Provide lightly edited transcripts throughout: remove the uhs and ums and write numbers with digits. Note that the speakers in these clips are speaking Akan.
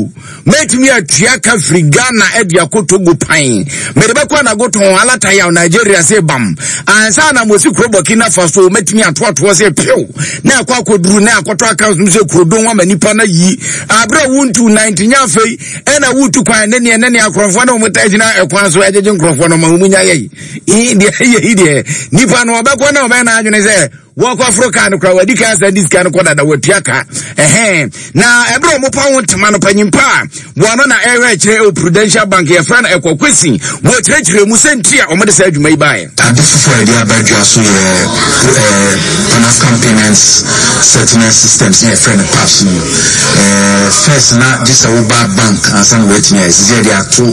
Togo. Mɛtumi atua ka firi Ghana de akɔ Togo pan. Mede bɛkɔ Anagotɔn, Alatayaw, Nigeria se bam. Ansa na mosi kuro Burkina Faso, mɛtumi atoatoɔ se pew. Na akɔ akɔduru na akɔtɔ accounts mu sɛ kurodon ama nipa no ayi. Aberɛ a wontu nan nti nyɛ afei ɛna wotu kwan ne neɛ ne neɛ akorɔmfoɔ ne wɔn taa gyina ɛkwan so ɛgyegye nkorɔfoɔ no ma wɔn nya yɛyi. Deɛ yɛyi deɛ nipa no ɔbɛkɔ na ɔbɛyɛ n'adwene sɛ Wɔkɔforo kaa no koraa wɔadi kan asan de sika no kɔ dada wɔatua ka ɛhɛn na ɛberɛ a wɔpa ho ntoma no panyin pa a wɔn na ɛhwɛ akyerɛ ɛwɔ Prudential Bank yɛfrɛ no ɛkɔ kwesi wɔkyerɛkyerɛ mu sɛ nti a wɔde saa adwuma yi baeɛ. Ade foforɔ a yɛde aba dwa so yɛ eh, Pan African Payments Settlement Systems na yɛfrɛ no PAPS no. Eh, first na gye sɛ woba bank ansa na woatumi ayɛ sisi yɛde ato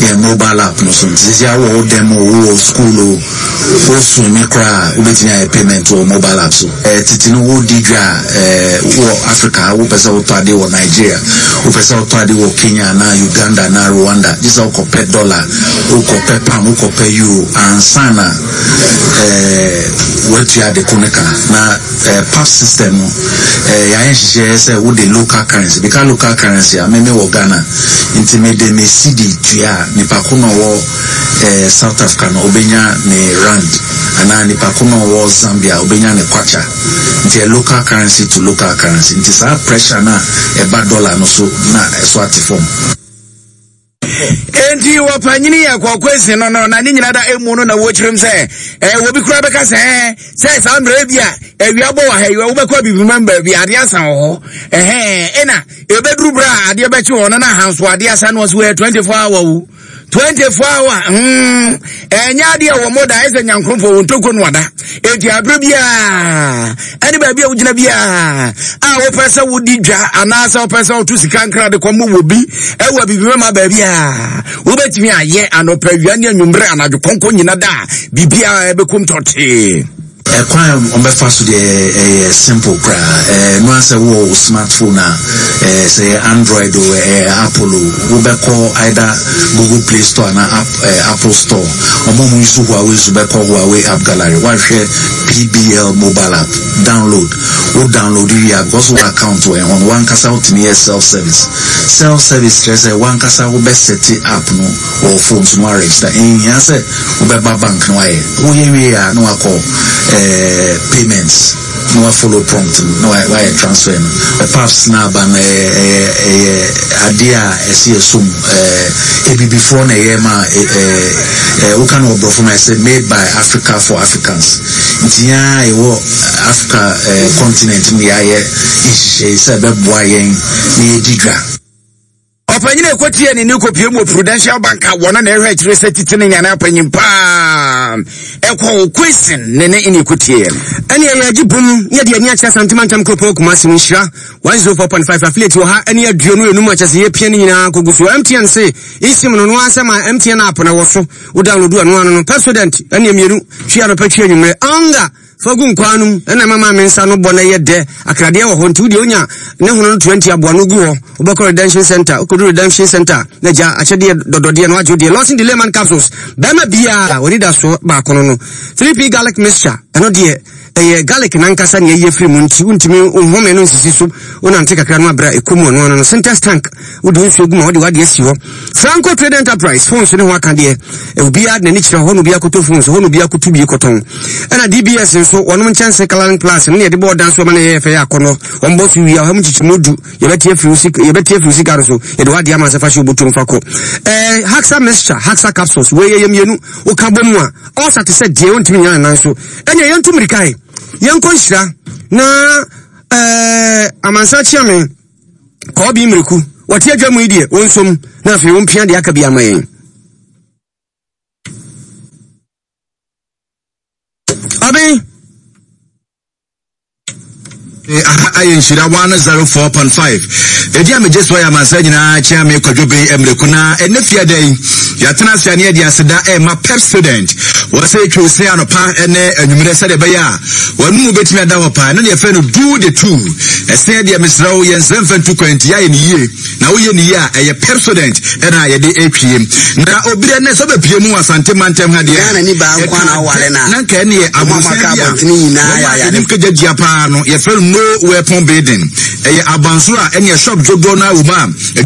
yɛn mobile app no so nti sisi awɔ wo dɛm o wowɔ school o Wo swimi koraa a wobɛtumi ayɛ payment wɔ mobile app so. Tete no wodi dwa a wɔ Africa ha wopɛ sɛ wotɔ ade wɔ Nigeria, wopɛ sɛ wotɔ ade wɔ Kenya anaa Uganda anaa Rwanda gye sɛ wokɔpɛ dollar, wokɔpɛ pound, wokɔpɛ euro ansa na woatua ade ko no ka. Na PAP system no yɛayɛ nhyehyɛeɛ sɛ wode local currency, meka local currency a me mewɔ Ghana nti mede me cedi tua a nipa ko no a ɔwɔ eh, South Africa no obenya ne rand anaa nipa ko no ɔwɔ Zambia obenya ne kwacha nti ɛ local currency to local currency nti saa pressure no a ɛba dollar no so na ɛso ate fam. Enti wɔpanyini yɛ kɔkɔesi no no na ne nyina da emu no na wɔkyerɛm sɛ eh, wɔbi koraa bɛka sɛ eh, sɛ saa mmerɛ bi a awia bɔ wɔ ha yi wobɛkɔ abibimam baabi adeɛ asa wɔ hɔ ɛhɛn ɛna ɛbɛduru berɛ a adeɛ bɛkye wɔ no na ahanso adeɛ asa no ɔso ɛ 24 hour wo 24 hour hmm ɛnyɛ adeɛ wɔ mo da ɛsɛ nyankorɔfoɔ wɔn ntoko no ada eti abere biara ɛne baabi a wogyina biara a wopɛ sɛ wodi dwa anaasɛ wopɛ sɛ woto sika nkra de kɔmɔ wɔ bi ɛwɔ abibi mɛma baabi a wobɛtumi ayɛ anɔpa awia ne anwummerɛ anadwo kɔnkɔ nyina da a biribiara ɛbɛkum tɔtee. Ɛkwan a wɔbɛfa so deɛ ɛyɛ simple koraa. Ɛno ara sɛ wowɔ wo smartphone a, sɛ ɛyɛ Android o, ɛyɛ Apple o, wobɛkɔ either Google Play Store anaa App, Apple Store. Wɔn a wɔuse Huawei nso bɛkɔ Huawei App Gallery. Woahwɛ PBL mobile app, download. Wo download wie a, because wowɔ account wɔ ɛho no, w'ankasa wotumi yɛ self service. Self service kyerɛ sɛ w'ankasa wobɛsɛte app no wɔ wo phone so na woaregister. Ɛnhia sɛ wobɛba bank na wayɛ. Woyɛ wie a na wakɔ eh, payments na wa follow prompt no na wayɛ transfer no. Paps na aba no ɛyɛ ɛyɛ ɛyɛ adeɛ a ɛsɛ yɛ som eh, ebibifoɔ na ɛyɛ ma eh, eh, woka no wɔ borɔfo ma ɛsɛ made by Africa for Africans. Nti yɛn a yɛwɔ Africa eh, continent no yɛayɛ nhyehyɛe sɛ ɛbɛboa yɛn na yɛdi dwa. Ɔpanyin a ɛkɔtiee ne ne kɔpie mu wɔ Prudential Bank a wɔn na ɛhwɛ akyire sɛ titi ne nyane apanyin paa ɛkɔ Kwesi ne ne ne ɛkɔtieɛ no. Ɛne ɛyɛ agye bom ne yɛde ani akyerɛ Asante Mantam Kuropɔn Kumasi no nhyira 104.5 affiliate wɔ ha ne 25 akyɛ sɛ yɛpia ne nyinaa kɔgu so. MTN se eSIM no no ara sɛ ma MTN app na wɔ so wo download ɛno ano no Pepsodent ɛne mmienu twi anɔpa twi anwummerɛ Anga Fa gu nkwaa no mu na ɛma maame nsa no bɔ na ɛyɛ dɛ. Akradeɛ wɔ hɔ nti wodeɛ wonya ne hono no 20 aboa no gu hɔ. Wobɛkɔ redemption center, wokɔdu redemption center a na gya akyɛdeɛ dɔdɔdeɛ no wagye wo deɛ. Lawson Delayman capsules, bɛrima biara w'anidasoɔ baako no no. 3P garlic mixture, ɛno deɛ ɛyɛ garlic nankasa nea ɛyɛ firi mu nti wontumi nhome no nsisi so. Wonante kakra no abrɛ a ɛkɔ mu ɔno ano no. Sintex tank, wode nsuo gu ma wode w'adeɛ asi hɔ. Franco Trade Enterprise, phones ne ho aka deɛ, obiara de n'ani kyerɛ hɔ na obiara kɔtɔ phones, hɔ na obiara kɔtu bi kɔtɔn. Ɛna DBS nso, wɔnom nkyɛnse Coloring Plus no na yɛde bɔ ɔdan so ma no yɛyɛ fɛ yɛ akɔnnɔ. Wɔn bɔ so wie a, ɔha mu nkyekyɛmu du, yɛbɛte afiri wo sika, yɛbɛte afiri wo sika no so, yɛde w'adeɛ ama sɛ fa hyɛ obotom fa kɔ. Ɛɛ, Haxa Mixture, Haxa Capsules, wei yɛyɛ mmienu, woka bɔ mu a, ɔɔsa te sɛ deɛ ɔntumi nyina ne nan so. Ɛnneɛ yɛntu mmirika ɛ, yɛnkɔ nhyira na ɛɛ, amansan kyeame. Kɔɔbi mmireku, wɔte adwa mu yi deɛ, wɔnsom na afei wɔmpia deɛ aka bi ama yɛn. Ɔben. Aha ayɛ nhyira 104.5. Ɛdi a megye soɔ yɛ amansa nyinaa kyea me kwadwo ben mmireku na ɛnɛ fie da yi yɛatena ase a ne yɛde aseda ɛma pep student wɔ sɛ twiw se anɔpa ne anwummerɛ sɛdeɛ ɛbɛyɛ a Wɔn mu bɛtumi ada hɔ paa. Ɛno na yɛfrɛ no do the two. Ɛsɛn deɛ mesrɛ wo yɛnsrɛ mfa ntu kwan nti yɛayɛ no yie. Na woyɛ no yie a ɛyɛ Pepsodent ɛna yɛde ɛtwie. Na obi dɛ nɛ sɛ wobɛpie mu wɔ Asante mantam ha deɛ Ghana ni baa nko na awale na. Na nka ɛne yɛ aborosan bi a wɔn a anim kagya gyia paa no yɛfrɛ no no weapon building. Ɛyɛ abansoro a ɛne shop dodoɔ no ara wɔ mu a.